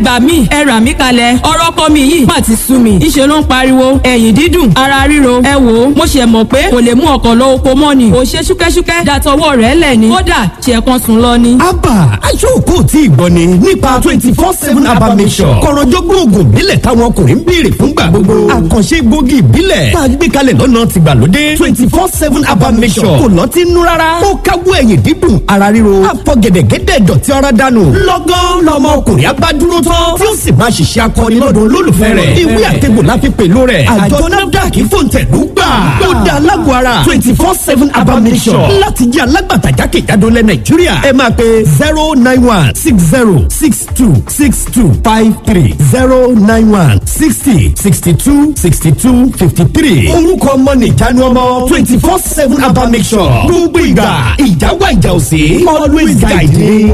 gbà mí, ẹ rà mí kalẹ̀, ọ̀rọ̀ ọkọ mi yìí má ti sú mi. Ìṣe ló ń pariwo, ẹ̀yìn dídùn, ara ríro. Ẹ wò ó, mo ṣe mọ̀ pé kò lè mú ọkọ̀ lọ oko mọ́ ni. Kò ṣe ṣúkẹ́ṣúkẹ́ dàtọwọ́ rẹ̀ lẹ̀ ni. Kódà ṣe kan sùn lọ ni. Abba aṣọ́ọ̀kọ́ tí ì gbọ́ ni nípa 24/7 Abba Mission. Kọ̀rọ̀jọ́gbọ́n oògùn ìbílẹ̀ táwọn ọkùnrin ń béèrè fúngbà gbogbo. Àkànṣe gbòógì ìbílẹ̀ tá a gbé kalẹ̀ lọ́nà tìgbàlódé. 24/7 Abba Mission. Kò lọ́tí nú rárá. Ó káwọ́ ẹ̀yìn dídùn, ara ríro. Àfọ gẹ̀dẹ̀gẹ̀dẹ̀ dọ̀tí ara dànù. Lọ́gán lọmọ ọkùnrin abá dúró tán, tí ó sì máa ṣiṣẹ́ akọni lọ́dọ̀ olólùfẹ́ rẹ̀. Ìwé àtẹ̀gbò la fi pèlú rẹ̀. Àjọ NAFDAC fòǹtẹ̀lú gbà. Ó dá alágọ̀ ara 24/7 Abba Mission. Láti jẹ́ alágbàtà jákèjádò lẹ Nàìjíríà, ẹ máa pe 09160626253, 09160626253. Orúkọ ọmọ nìjánu ọmọ 24/7 Abba Mission. Gbogbo ìgbà ìjáwá ìjà òsè, always guide me.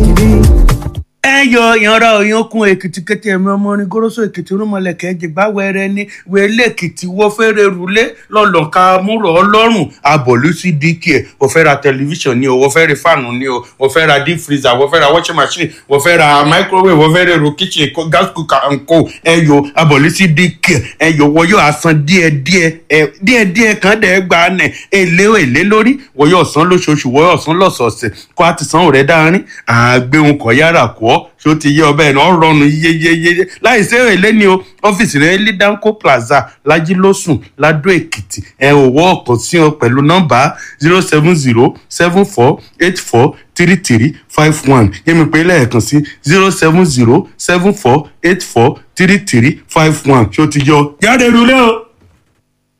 Ẹ yọ ìyanra òyìnkùn Èkìtì kété, ẹmí ọmọ orin goroso Èkìtì rúmọlẹkẹ jìgbà wẹrẹ ní wẹlé Èkìtì wọ fẹrẹ rúlé lọlọka múrò Ọlọ́run abọlú sí dk. Wọ́n fẹ́ ra tẹlifíṣàn ni o, wọ́n fẹ́ ra fáànù ni o, wọ́n fẹ́ ra deep freezer, wọ́n fẹ́ ra washing machine, wọ́n fẹ́ ra microwave, wọ́n fẹ́ ra èrò kitchen, gas cooker and co. Ẹ yọ abọlú sí dk. Ẹ yọ wọ́n yóò asan díẹ̀ díẹ̀, ẹ díẹ̀ díẹ̀ kan dẹ̀ gba nẹ̀ èlé èlé lórí. Wọ́n yóò san lóṣooṣù, wọ́n yóò san lọ́sọ̀ọ̀sẹ̀ kó a ti san òrẹ́ dáárín àgbéhùn kọ̀ yára kọ́. Ṣó ti yé ọbẹ̀ náà rọrùn yeyeyeye láì ṣe èlé ni o. Ọ́fíìsì rẹ̀ ní Danco Plaza, Lajilósùn, Ladó Èkìtì. Ẹ ò wọ́ ọ̀kan sí ọ pẹ̀lú nọ́mbà 07074843351. Yẹ́mi pé lẹ́ẹ̀kan sí 07074843351. Ṣó ti yọ jáde rúlé o.